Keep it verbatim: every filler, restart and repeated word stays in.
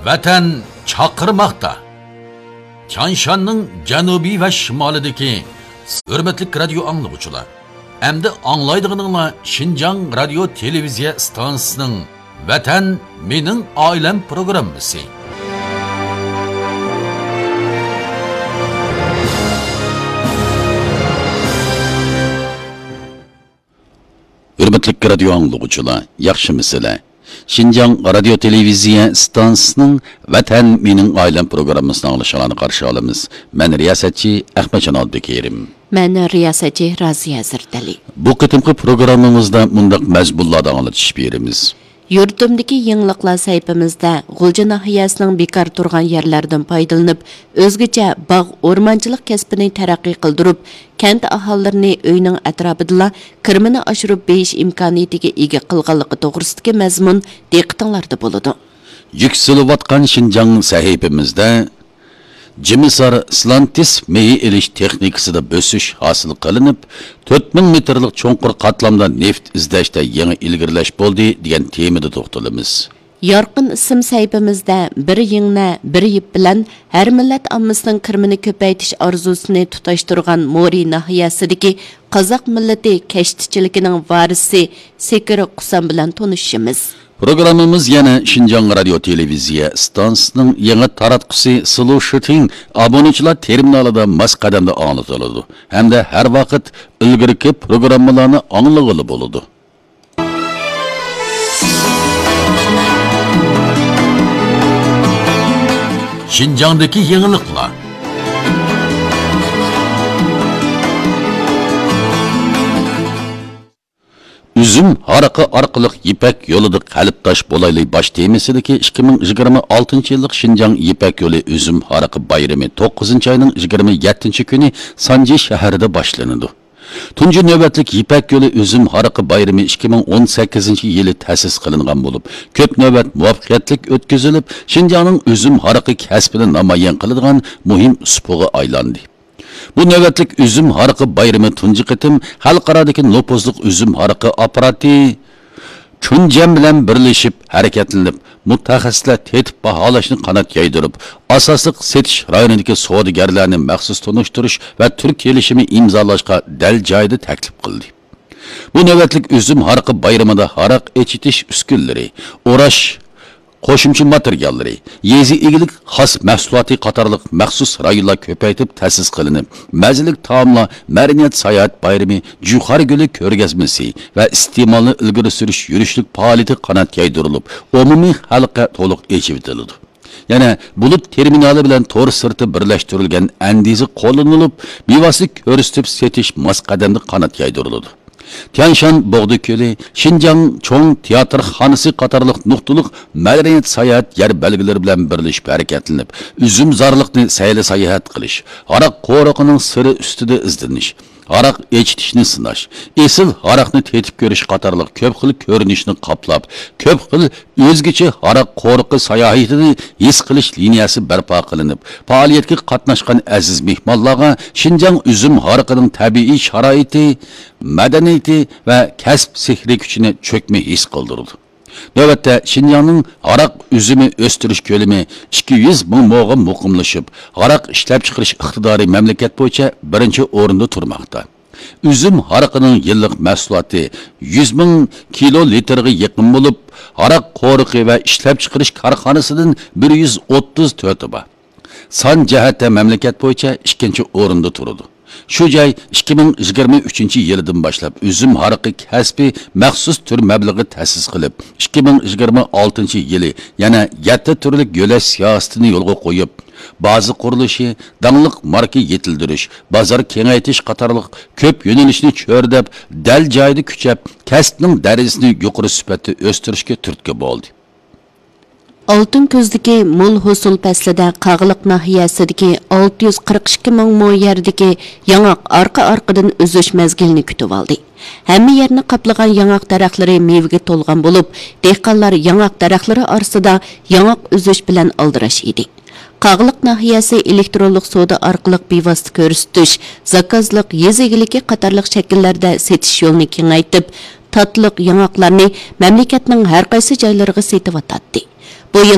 ۋەتەن چاقىرماقتا. تيانشاننىڭ جەنۇبى ۋە شىمالىدىكى ھۆرمەتلىك رادىيو ئاڭلىغۇچىلار، ئەمدى ئاڭلايدىغىنىڭلار شىنجاڭ رادىيو تېلېۋىزىيە ئىستانسىسىنىڭ ۋەتەن مېنىڭ ئائىلەم پروگراممىسى. ھۆرمەتلىك رادىيو ئاڭلىغۇچىلار، ياخشىمۇسىلەر؟ شىنجاڭ رادىيو تېلېۋىزىيە ئىستانسىسىنىڭ ۋەتەن مېنىڭ ئائىلەم پروگراممىسىنى ئاڭلىشىڭلارنى قارشى ئالىمىز. مەن رىياسەتچى ئەخمەتجان ئابدۇكېرىم. مەن رىياسەتچى رازىيە زەردەلى. بۇ قېتىمقى پروگراممىمىزدا مۇنداق مەزمۇنلاردا ئاڭلىتىش بېرىمىز. يۇرتۇمدىكى يېڭىلىقلار سەھىپىمىزدە غۇلجا ناھىيەسىنىڭ بىكار تۇرغان يەرلەردىن پايدىلىنىپ، ئۆزگىچە باغ ئورمانچىلىق كەسپىنى تەرەققىي قىلدۇرۇپ، كەنت ئاھالىلىرىنى ئۆينىڭ ئەتراپىدىلا كىرىمىنى ئاشۇرۇپ بېيىش ئىمكانىيىتىگە ئىگە قىلغانلىقى توغرىسىدىكى مەزمۇن دىققىتىڭلاردا بولىدۇ. يۈكسىلىۋاتقان شىنجاڭ سەھىپىمىزدە جىمىسار سلانتىس مېيى ئېلىش تېخنىكىسىدا بۆسۈش ھاسىل قىلىنىپ، تۆت مىڭ مېتىرلىق چوڭقۇر قاتلامدا نېفىت ئىزدەشتە يېڭى ئىلگىرىلەش بولدى دېگەن تېمىدا توختىلىمىز. يارقىن ئىسىم سەھىپىمىزدە بىر يىڭنە، بىر يىپ بىلەن ھەر مىللەت ئاممىسىنىڭ كىرىمىنى كۆپەيتىش ئارزۇسىنى تۇتاشتۇرغان مورى ناھىيەسىدىكى قازاق مىللىتى كەشتىچىلىكىنىڭ ۋارىسى سېكىر قۇسام بىلەن تونۇشىمىز. پروگراممىمىز يەنە شىنجاڭ رادىيو تېلېۋىزىيە ئىستانسىسىنىڭ يېڭى تاراتقۇسى سلۇشىتىڭ ئابۇنىچىلار تېرمىنالىدا ماس قەدەمدە ئاڭلىتىلىدۇ ھەمدە ھەر ۋاقىت ئىلگىرىكى پروگراممىلارنى ئاڭلىغىلى بولىدۇ. شىنجاڭدىكى يېڭىلىقلار. ئۈزۈم ھارىقى ئارقىلىق يىپەك يولىدا قەلبداش بولايلى باش تېمىسىدىكى ئىككى مىڭ يىگىرمە ئالتىنچى يىللىق شىنجاڭ يىپەك يولى ئۈزۈم ھارىقى بايرىمى توققۇزىنچى ئاينىڭ يىگىرمە يەتتىنچى كۈنى سانجى شەھىرىدە باشلىنىدۇ. تۇنجى نۆۋەتلىك يىپەك يولى ئۈزۈم ھارىقى بايرىمى ئىككى مىڭ ئون سەككىزىنچى يىلى تەسىس قىلىنغان بولۇپ، كۆپ نۆۋەت مۇۋەپپەقىيەتلىك ئۆتكۈزۈلۈپ، شىنجاڭنىڭ ئۈزۈم ھارىقى كەسپىنى نامايان قىلىدىغان مۇھىم سۇپىغا ئايلاندى. بۇ نۆۋەتلىك ئۈزۈم ھارىقى بايرىمى تۇنجى قېتىم خەلقئارادىكى نوپۇزلۇق ئۈزۈم ھارىقى ئاپپاراتى چۈنجەن بىلەن بىرلىشىپ ھەرىكەتلىنىپ، مۇتەخەسسىسلەر تېتىپ باھالاشنى قانات يايدۇرۇپ، ئاساسلىق سېتىش رايونىدىكى سودىگەرلەرنى مەخسۇس تونۇشتۇرۇش ۋە تۈر كېلىشىمى ئىمزالاشقا دەل جايىدا تەكلىپ قىلدى. بۇ نۆۋەتلىك ئۈزۈم ھارىقى بايرىمىدا ھاراق ئېچىتىش ئۈسكۈنىلىرى، ئوراش، قوشۇمچە ماتېرىياللىرى، يېزا ئىگىلىك خاس مەھسۇلاتى قاتارلىق مەخسۇس رايونلار كۆپەيتىپ تەسىس قىلىنىپ، مەززىلىك تائاملار، مەدەنىيەت ساياھەت بايرىمى، جۇخار گۈلى كۆرگەزمىسى ۋە ئىستېمالنى ئىلگىرى سۈرۈش يۈرۈشلۈك پائالىيىتى قانات يايدۇرۇلۇپ، ئومۇمىي خەلققە تولۇق ئېچىۋېتىلىدۇ. يەنە بۇلۇت تېرمىنالى بىلەن تور سىرتى بىرلەشتۈرۈلگەن ئەندىزە قوللىنىلىپ، بىۋاسىتە كۆرسىتىپ سېتىش ماس قەدەمدە قانات يايدۇرۇلىدۇ. تيانشان بوغدا كۆلى، شىنجاڭ چوڭ تىياتىرخانىسى قاتارلىق نۇقتىلىق مەدەنىيەت ساياھەت يەر بەلگىلىرى بىلەن بىرلىشىپ ھەرىكەتلىنىپ، ئۈزۈمزارلىقنى سەيلە ساياھەت قىلىش، ھاراق قورۇقىنىڭ سىرى ئۈستىدە ئىزدىنىش، ھاراق ئېچىتىشنى سىناش، ئېسىل ھاراقنى تېتىپ كۆرۈش قاتارلىق كۆپ خىل كۆرۈنۈشنى قاپلاپ، كۆپ خىل ئۆزگىچە ھاراق قورۇقى ساياھىتىنى ھېس قىلىش لىنىيەسى بەرپا قىلىنىپ، پائالىيەتكە قاتناشقان ئەزىز مېھمانلارغا شىنجاڭ ئۈزۈم ھارىقىنىڭ تەبىئىي شارائىتى، مەدەنىيىتى ۋە كەسىپ سېھرىي كۈچىنى چۆكمە ھېس قىلدۇرىدۇ. نۆۋەتتە، شىنجاڭنىڭ ھاراق ئۈزۈمى ئۆستۈرۈش كۆلىمى ئىككى يۈز مىڭ موغا مۇقىملىشىپ، ھاراق ئىشلەپچىقىرىش ئىقتىدارى مەملىكەت بويىچە بىرىنچى ئورۇندا تۇرماقتا. ئۈزۈم ھارىقىنىڭ يىللىق مەھسۇلاتى يۈز مىڭ كىلو لىتىرغا يېقىن بولۇپ، ھاراق قورۇقى ۋە ئىشلەپچىقىرىش كارخانىسىدىن بىر يۈز ئوتتۇز تۆتى بار. سان جەھەتتە مەملىكەت بويىچە ئىككىنچى ئورۇندا تۇرىدۇ. شۇ جاي ئىككى مىڭ يىگىرمە ئۈچىنچى يىلىدىن باشلاپ ئۈزۈم ھارىقى كەسپى مەخسۇس تۈر مەبلىغى تەسىس قىلىپ، ئىككى مىڭ يىگىرمە ئالتىنچى يىلى يەنە يەتتە تۈرلۈك يۆلەش سىياسىتىنى يولغا قويۇپ، بازا قۇرۇلۇشى، داڭلىق ماركا يېتىلدۈرۈش، بازار كېڭەيتىش قاتارلىق كۆپ يۆنىلىشنى چۆرىدەپ، دەل جايىدا كۈچەپ، كەسىپنىڭ دەرىجىسىنى يۇقىرى سۈپەتتە ئۆستۈرۈشكە تۈرتكە بولدى. ئالتۇن كۈزدىكى مول ھوسۇل پەسلىدە قاغىلىق ناھىيەسىدىكى ئالتە يۈز قىرىق ئىككى مىڭ مو يەردىكى ياڭاق ئارقا-ئارقىدىن ئۈزۈش مەزگىلىنى كۈتۈۋالدى. ھەممە يەرنى قاپلىغان ياڭاق دەرەخلىرى مېۋىگە تولغان بولۇپ، دېھقانلار ياڭاق دەرەخلىرى ئارىسىدا ياڭاق ئۈزۈش بىلەن ئالدىراش ئىدى. قاغىلىق ناھىيەسى ئېلېكترونلۇق سودا ئارقىلىق بىۋاسىتە كۆرسىتىش، زاكازلىق، يېزا ئىگىلىكى قاتارلىق شەكىللەردە سېتىش يولىنى كېڭەيتىپ، تاتلىق ياڭاقلارنى مەملىكەتنىڭ ھەر قايسى جايلىرىغا سېتىۋاتاتتى. بۇ يىل